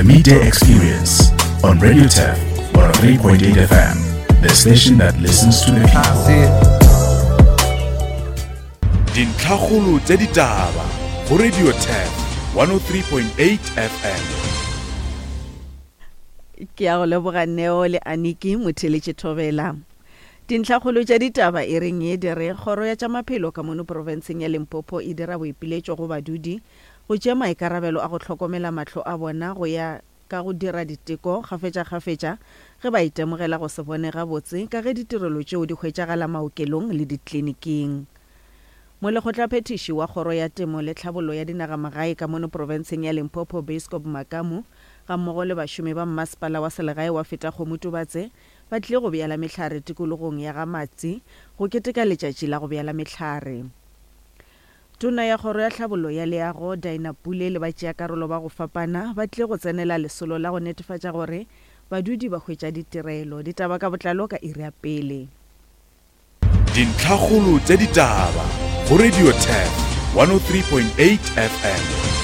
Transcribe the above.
Midday Experience on Radio Turf 103.8 FM, the station that listens to the people. Dintlhakgolo tša ditaba go Radio Turf 103.8 FM. Ke ya go leboga Neo le Aniki motheletše thobela. Dintlhakgolo tša ditaba e reng ye di re kgoro ya tša maphelo ka mono profenseng ya Limpopo e dira boipiletšo go badudi go tšea maikarabelo a go hlokomela mahlo a bona go ya ka go dira diteko kgafetšakgafetša ge ba itemogela go se bone gabotse ka ge ditirelo tšeo di hwetšagala maokelong le dikliniking. Molekgotlaphethiši wa Kgoro ya Temo le Tlhabollo ya Dinagamagae ka mono profenseng ya Limpopo Beiskop Makamu gammogo le bašomi ba mmasepala wa selegae wa Fetakgomo Tubatse ba tlile go bjala mehlare tikologong ya ga Matsi go keteka letšatši la go bjala mehlare. Tona ya Kgoro ya Tlhabollo ya Leago, Dinah Pule le batšeakarolo ba go fapana ba tlile go tsenela lesolo la go netefatša gore badudi ba hwetša ditirelo. Ditaba ka botlalo ka iri ya pele. Dintlhakgolo tša ditaba go Radio Turf 103.8 FM.